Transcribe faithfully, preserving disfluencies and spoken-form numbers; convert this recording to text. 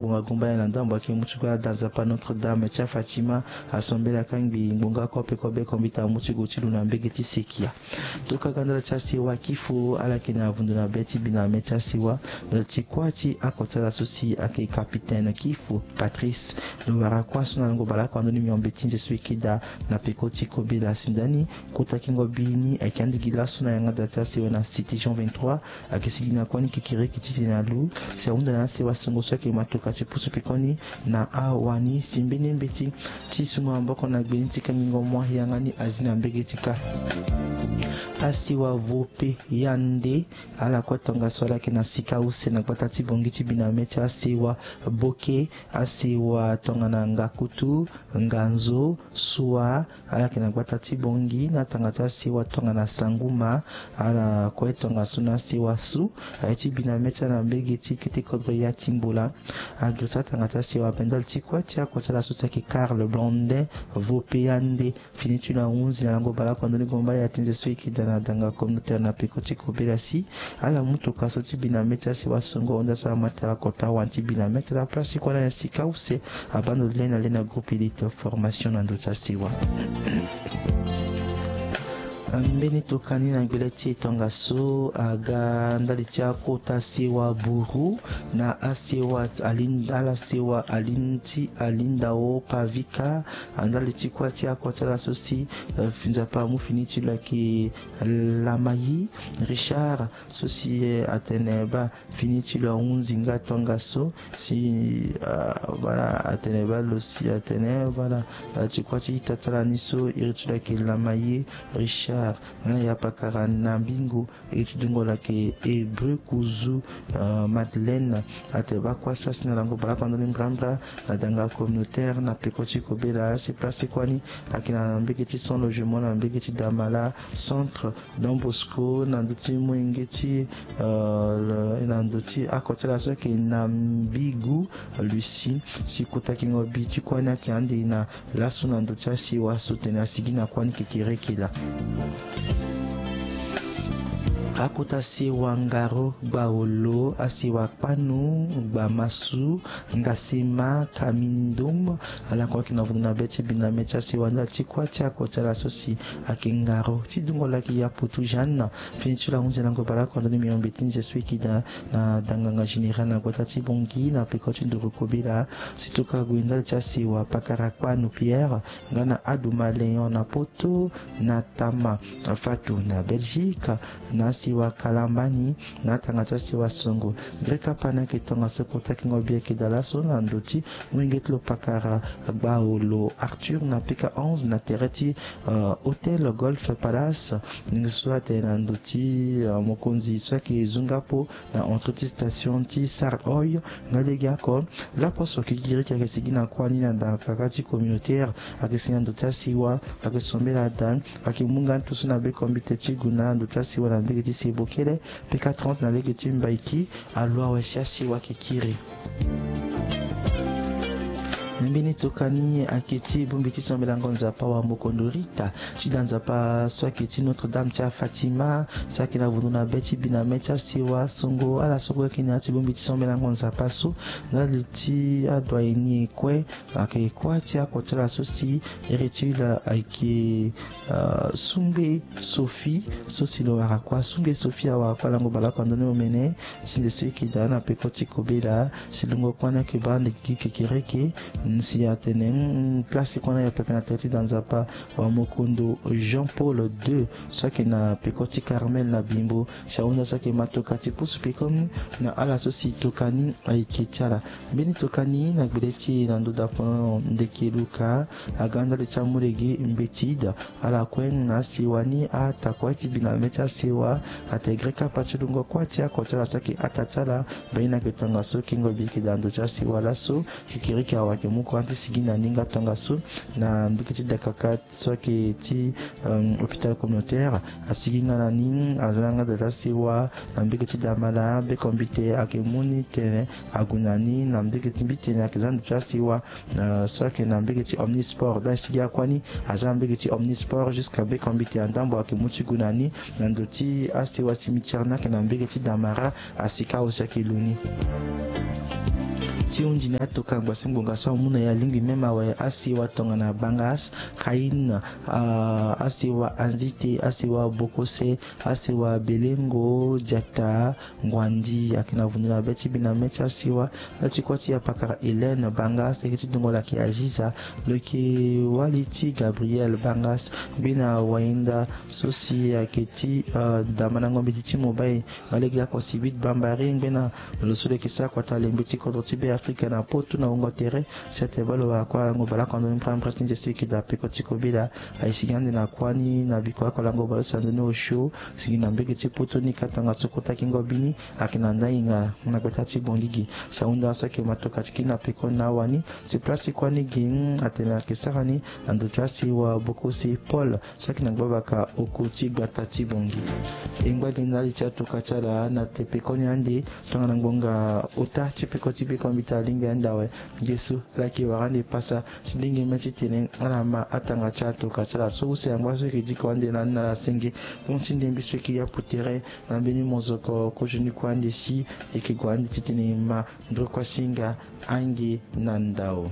ngbonga gumba ya na ndambo ayeke mu ti gue ada nzapa Notre Dame ti aFatima. Asombela kangbi ngbonga kope kobe kombita mu ti gue ti lo na mbege ti sekia. Tokaka ndala ti asewa Kifo ala yeke na avundu na be ti bi na me ti asewa. Ndala ti kuâ ti oko ti ala so si ayeke capitaine Kifo Patrice lo wara kuâ so na lango baleoko ando ni miombe ti nze so e ke daa na peko ti kobela si nda ni. Kota kingo bi ni ayeke andi gi laso na yanga da ti asewa na cité Jean vingt-trois. Ayeke sigi na kuâ ni kekereke ti tene na lu si ahunda na asewa songo so ayeke matoka ti pusu pekoni na awani si mbeni mbeti ti sungo maboko na gbe ni ti kangingo moi yanga ni azi na mbege ti ka. Asewa Vope Yande ala kue tongaso ala yeke na sika use na gbata ti Bongi ti bi na me ti asewa Boke, asewa tongana Ngakutu, Nganzo, Sua, ala yeke na gbata ti Bongi na tanga ti asewa tongana Sanguma. Ala kue tongaso na asewa so aye ti bi na me ti ala na mbege ti kete kodro ya ti Mbola. Agrisa tanga ti asewa ape ndali ti kuâ ti oko ti ala so si ayeke Karl Blondin Vope Yande. Fini ti lo ahunzi na lango baleoko ando ni gomba ya ti nze so e ke daa na danga communautaire na peko ti kobela si ala mu toka so ti bi na me ti asewa songo honda so amata ala kota wani ti bi na me ti ala place ti kuâ na ya sika use. Abando le na le na groupe élite formation na ndo ti asewa. Mbeni tokani na gbele ti e tongaso aga ndali ti akota sewa Buru na asewa Alin-, ala sewa Alin ti Alindao Pavika. Ndali ti kuâ ti oko ti ala so si, eh, Nzapa amu fini ti lo ayeke Lamayi Richard so si, eh, atene baa fini ti lo ahunzi nga tongaso si, ah, voilà, atene baa lo si atene, voilà, ah, ti kuâ ti ita ti ala ni so iri ti lo ayeke Lamayi Richard nga na ya pakara na mbingo iri ti dungo lo ayeke Hébreu Kuzu, ah, Madeleine. Atene baa kuâ so asi na lango baleoko ando ni mbrambra na danga communautaire na peko ti kobela si place ti kuâ ni ayeke na mbege ti sans logement na mbege ti Damala centre Don Bosco na ndö ti molenge ti, euh, na ndö ti oko ti ala so ayeke Nambigu Lucie. Si kota kingo bi ti kuâ ni ayeke ande na laso na ndö ti asewa so tene asigi na kuâ ni kekereke laa. Akota sewa Ngaro Gbaolo, asewa Kpanu Gbamasu Ngasima Kamindom. Ala kue ayeke na vundu na be ti bi na me ti asewa ndali ti kuâ ti oko ti ala so si ayeke Ngaro ti dungo lo ayeke Yaputu Jeanne. Fini ti lo ahunzi na lango baleoko ando ni miombe ti nze so e ke daa na danganga général na gbata ti Bongi na peko ti nduru kobela. Si tokua gue ndali ti asewa pakara Kpanu Pierre nga na Adouma Léon na Poto, na Tama Fatou na Belgique, na asewa Kalambani na tanga ti asewa Songo. Greka Pana ayeke tongaso kota kingo bi ayeke daa laso na ndö ti wenge ti lo pakara Gbaolo Arthur na P K onze na tere ti, euh, Hôtel Golf Palace. Ndenge so atene na ndö ti, euh, mokonzi so ayeke zunga po na entre ti station ti Sar Oil nga lege oko. Laposo kikiriki ayeke sigi na kuâ ni na ndanga kaka ti communautaire. Ayeke sigi na ndö ti asewa, ayeke sombela daa. Ayeke mu nga ndutu so na be kombite ti guna na ndö ti asewa na mbege ti Sebokele, P K trente na lege ti Mbaiki. Alo awe si asewa ayeke kiri. Mbeni tokani ayeke ti bongbi ti sombelango Nzapa wa mokondo Rita ti da Nzapa so ayeke ti Notre Dame ti aFatima, so ayeke na vundu na be ti bi na me ti asewa Songo. Ala so kue ayeke na ya ti bongbi ti sombelango Nzapa so ndali ti adoyen ni e kue. Ayeke kuâ ti oko ti ala so si iri ti lo ayeke, euh, Sungbe Sophie, so si lo wara kuâ. Sungbe Sophie awara kuâ lango baleoko ando ni omene. Si nze so e ke daa na peko ti kobela si lungo kuâ ni ayeke baa ande gi kekereke. Si atene, mm, place ti kuâ ni ayo pepe na tere ti da Nzapa wa mokondo Jean Paul deux so ayeke na peko ti Carmel na Bimbo. Si ahunda so ayeke matoka ti pusu peko ni na ala so si tokani ayeke ti ala. Mbeni tokani na gbele ti e na ndo dapono ndeke Luka aga ndali ti amu lege mbeti ida. Ala kue na asewa ni ata kue ti bi na me ti asewa. Ate gre kapa ti lungo kuâ ti oko ti ala so ayeke ata ti ala. Mbaini ayeke tongaso kingo bi ayeke daa ndo ti asewa laso. Kikiriki awa ayeke mu Courant ti sigi na ni nga tongaso na mbege ti Dakaka so ayeke ti hôpital communautaire. Asigi nga na ni, aza na nga da ti asiwa na mbege ti Damala. Bekombite ayeke mu ni tene ague na ni na mbege ti mbi tene ayeke za ndo ti asiwa so ayeke na mbege ti Omnisport. Donc asigi akuâ ni aza na mbege ti Omnisport jusqu'à bekombite na ndambo ayeke mu ti gue na ni na ndo ti asiwa cimetière ni ayeke na mbege ti Damala. Asika aussi ayeke lu ni. Ti hunzi ni atoka ngbasi ngbonga so amu na e alingbi même awe asiwa tongana Bangas, Kain, asiwa Anzite, asiwa Bokose, asiwa Belengo, Diata, Ngwandi. Ayeke na vundu na be ti mbi na mê ti asiwa. Lo ti kua ti apakara Hélène Bangas, lo yeke ti dungo lo ayeke Aziza, lo yeke wali ti Gabriel Bangas, mbena wahinda so si ayeke ti Damandango mbeti ti Mobai. Alege ako si huit Bambari, ngbena lo so lo yeke sara kota lembe ti kodro ti Be Afrika na potu na wungo tere. Si atene baa lo wara kuâ lango bale oko na ndoni mpremprem ti nze so e yeke daa peko ti kobela. Aye sigi ande na kuâ ni na biko oko lango bale so na ndoni osio. Sigi na mbege ti potu ni ka tongaso kota kingo bini. Ayeke na ndanginga na gbata ti Bongigi. Sahunda so ayeke matoka ti kiri na peko na awani. Si place ti kuâ ni gi atene ayeke sara ni na ndo ti asiwa Bokosi Paul so ayeke na gbabaka oko ti gbata ti Bongigi. E ngba gi ndali ti atoka ti ala na tepekoni ande. Tongana ngbonga ota ti peko ti bekombite alingbi ande awe. Ngesu ala yeke wara ande pasa ti lenge mê titene ala ma atanga ti atoka ti ala so use angba so yeke diko ande na ni na ala senge. Mo ti ndembe so yeke yapu tere na mbeni mozoko kozoni kue ande si e yeke gue ande titene e ma ndokua singa ange na ndao.